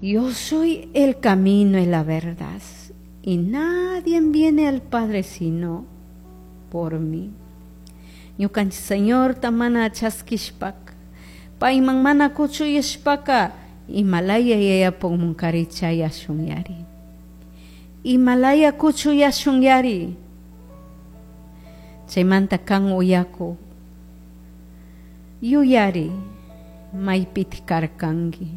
Yo soy el camino y la verdad, y nadie viene al Padre sino por mí. Ñukanchik Señorta mana chaskishpaka, payman mana kuchuyashpaka, imalaya yayapukmunkari chayashunyari. Imalaya kuchuyashunyari. Chaymanta kan uyaku yuyari maypiti karkanki.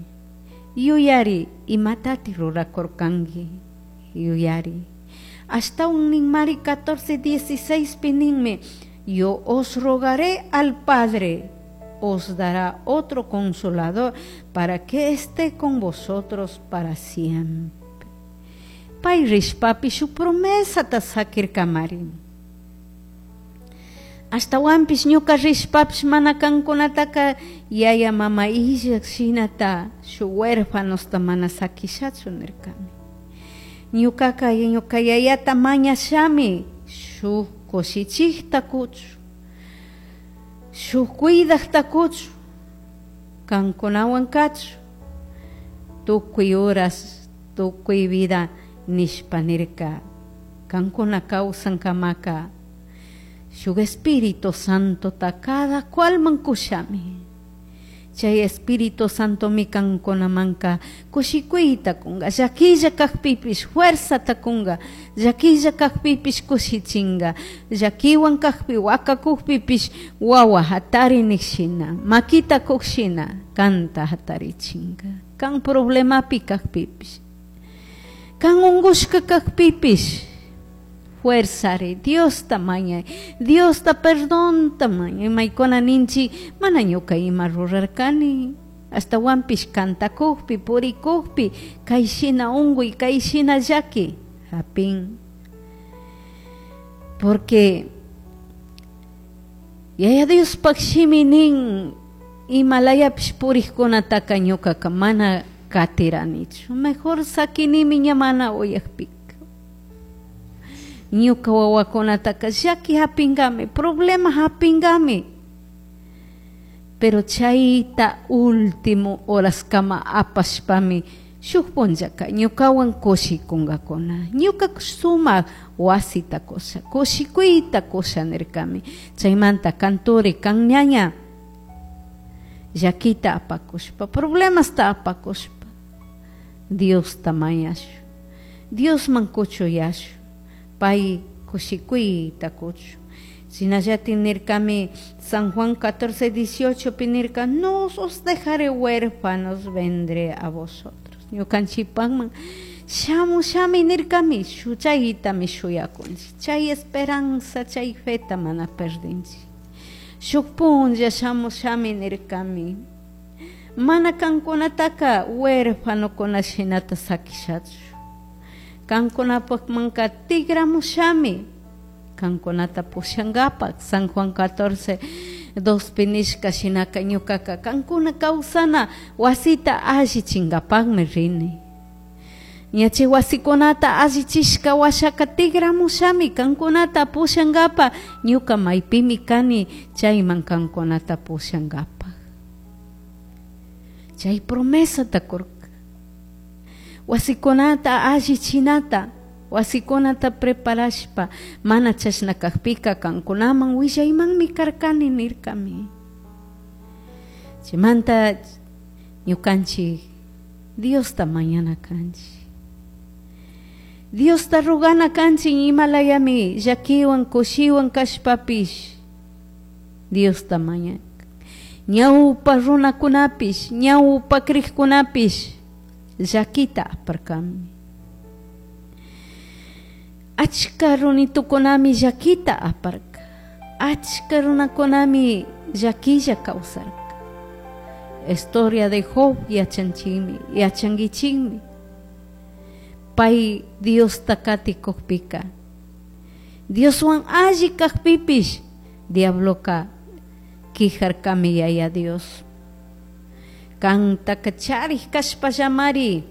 Yuyari imatati rurakurkanki. Yuyari. Ashtawan ninmari 14:16 pi ninmi: "Yo os rogaré al Padre, os dará otro consolador para que esté con vosotros para siempre." Pay rishpapi shuk promesata sakirkamari. Ashtawanpish ñuka rishpapish mana kankunataka yaya mama illak shinata shuk huérfanosta mana sakishachu nirkami. Ñukaka ñuka yayata mañashami shuk kushichikta kuchu, shuk cuidakta kuchu, kankunawan kachu, tukuy horas, tukuy vida nishpa nirka. Kankuna kawsankamaka shuk Espíritu Santota cada cualman kushami. Chay Espíritu Santomi kankunamanka kushikuyta kunga, llakilla kakpipish fuerzata kunga, llakilla kakpipish kushichinga, llakiwan kakpi wakakukpipish wawa hatari nikshina, makita kukshina kanta hatarichinga. Kan problemapi kakpipish, kan ungushka kakpipish fuerzari Diosta mañay, Diosta perdonta mañay. Maykuna ninchi mana ñuka ima rurarkani, ashtawanpish kantakukpi purikukpi kay shina unkuy kay shina llaki hapin. Porque Yaya Diospaj shimi nin imalayapish purikkunataka ñukaka mana katiranichu, mejor sakinimi ña mana uyakpika. Ñuka wawakunataka llaki hapingami, problema hapingami. Pero chayta último horaskama apashpami shuk punllaka ñukawan kushikunkakuna. Ñuka sumak wasita kusha, kushikuyta kusha nirkami. Chaymanta kanturi kan ñaña llakita apakushpa, problemasta apakushpa, Diosta mañashu, Diosman kuchuyashu, pay kushikuyta kuchu. Shinallatik nirkami San Juan 14:18 pi nirka: "No os dejaré huérfanos, vendré a vosotros." Ñukanchikpakman shamushami nirkami, chaytami shuyakunchik, chay esperanza, chay feta mana perdinchik. Shuk punlla shamushami nirkami, mana kankunataka huérfanokuna shinata sakishachu, kankunapakmanka tigramushami kankunata pushankapak. San Juan 14:2 pi nishka shinaka ñukaka kankuna kawsana wasita allichinkapakmi rini. Ña chay wasikunata allichishka washaka tigramushami kankunata pushankapa, ñuka maypimi kani chayman kankunata pushankapak. Chay promesata kurka. Wasikunata allichinata, wasikunata preparashpa, mana chashna kakpika kankunaman willaymanmi karkani nirkami. Chaymanta ñukanchik Diosta mañana kanchik. Diosta rogana kanchik imalayami llakiwan kushiwan kashpapish Diosta maña. Ñawpa runakunapish, ñawpa krikkunapish llakita aparkami. Achka runitukunami llakita aparka. Achka runakunami llakilla kawsarka. Historia de Job yachanchikmi, yachankichikmi. Pay Diosta katikukpika, Dioswan alli kakpipish diabloka quijarkami yaya Dios. Kantaka charik kashpallamari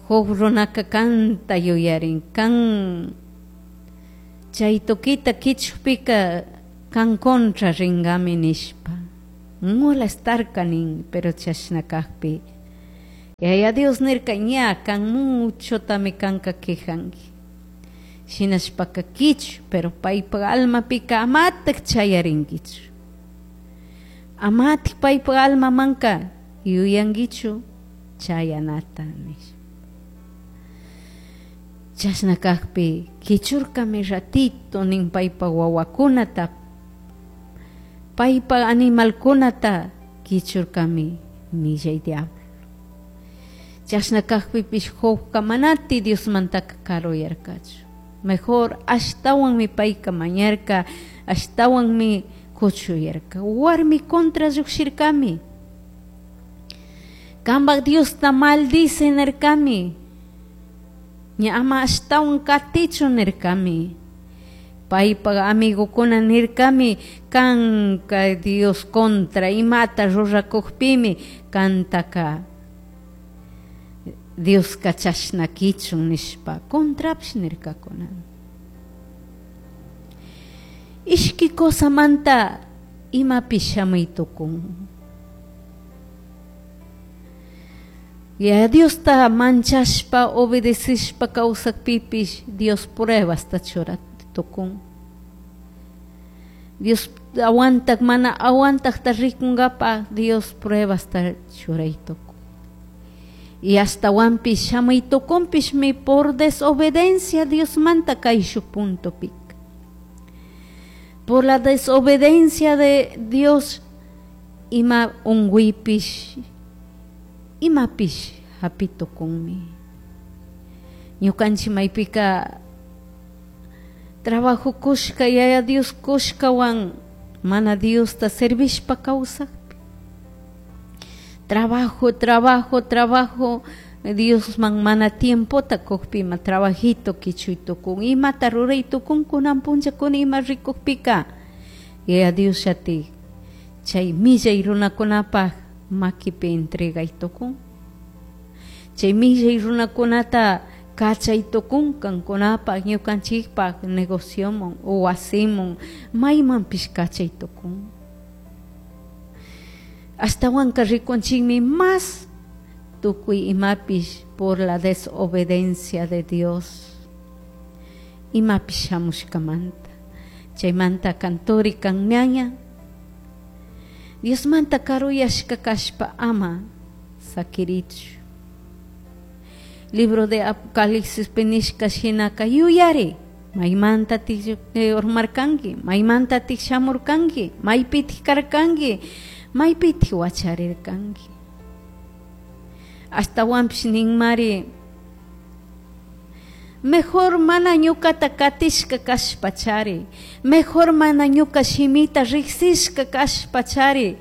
Job runaka kanta yuyarin, kan chay tukita kichupika kan kontra ringami nishpa molestarka nin, pero chashna kakpi Yaya Dios nirka ña kan muchotami kanka quejanki. Shinashpaka kichu, pero paypak almapika amatak chayarinkichu. Amatik paypak almamanka yuyankichu chayanata nishpa. Chashna kakpi kichurkami ratito nin paypak wawakunata, paypak animalkunata kichurkami millay diablo. Chashna kakpipish Jobka manati Diosmantaka karuyarkachu. Mejor ashtawanmi payka mañarka, ashtawanmi kuchuyarka. Warmi contra llukshirkami. Kampak Diosta maldice nirkami. Ña ama ashtawan katichu nirkami. Paypak amigokuna nirkami kanka Dios contra imata rurakukpimi kantaka Dioska chashna kichun nishpa contrapish nirkakuna. Ishki cosamanta imapish shamuy tukun. Ya Diosta manchashpa obedecishpa kawsakpipish Dios pruebasta chura tukun. Dios aguantak mana aguantakta rikunkapa Dios pruebasta churay tukun. Y ashtawanpish shamuy tukunpishmi por desobediencia Diosmanta kayshuk puntopika. Por la desobediencia de Dios ima unguipish imapish hapi tukunmi. Ñukanchik maypika trabajo kushka yaya Dios kushkawan mana Diosta servishpa kawsakpi. Trabajo, trabajo, trabajo, Diosman mana tiempota kukpi ima trabajito kichuy tukun, imata ruray tukun kunan punllakuna ima rikukpika yaya Dios llatik chay millay runakunapak makipi entregay tukun. Chay millay runakunata kachay tukun kankunapak ñukanchikpak negociomun o wasimun maymanpish kachay tukun. Ashtawanka rikunchikmi más tukuy imapish por la desobediencia de Dios. Imapish shamushkamanta. Chaymanta kanturi kanñaña. Diosmanta karuyashka kashpa ama sakirichu. Libro de Apocalipsis nishka shinaka yuyari. Maymanta tik urmarkanki, maymanta tik shamurkanki, maypitik karkanki, maypitik wacharirkanki. Ashtawanpish ninmari mejor mana ñukata katishka kashpachari, mejor mana ñuka shimita riksishka kashpachari,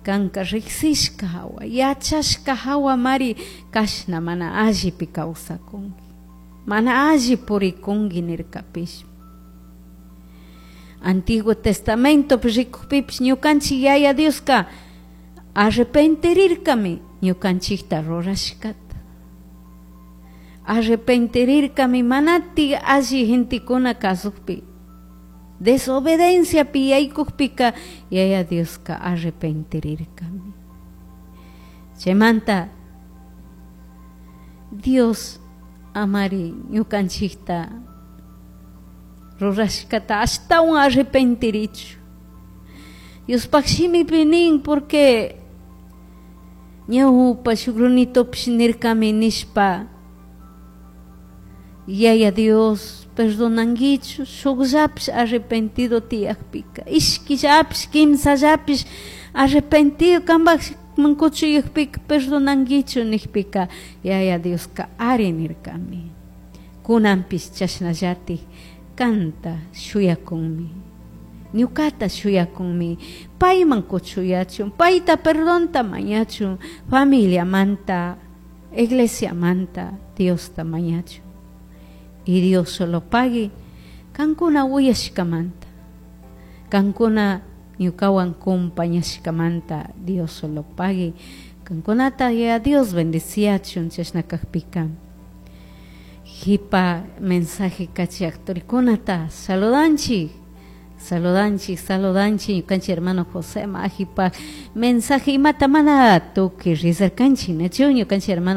kanka riksishka hawa, yachashka hawa mari kashna mana allipi kawsakunki, mana alli purikunki nirkapish. Antiguo Testamento rikukpipish ñukanchik yaya Dioska arrepentirirkami ñukanchikta rurashkata. Arrepentirirkami manati alli gentekuna kasukpi. Desobedienciapi yaykukpika yaya Dioska arrepentirirkami. Chaymanta Dios amari ñukanchikta rurashkata ashtawan arrepentirichu. Diospaj shimipi nin porque ñawpa shuk runitopish nirkami nishpa Yaya Dios perdonankichu shukllapish arrepentido tiyakpika, ishkillapish kimsallapish arrepentido kanpakman kuchuyakpika perdonankichu nikpika Yaya Dioska ari nirkami. Kunanpish chashnallatik kanta shuyakunmi. Ñukata shuyakunmi payman kuchuyachun, payta perdonta mañachun, familiamanta, iglesiamanta Diosta mañachun. Y Dios solo pague kankuna uyashkamanta, kankuna ñukawan compañashkamanta Dios solo pague. Kankunata ya Dios bendiciachun chashna kakpika. Jipa mensaje kachaktorikunata saludanchik. Saludanchik, saludanchik ñukanchik hermano José Majipa mensaje imata mana tukuy rizarkanchik, nachu ñukanchik hermano.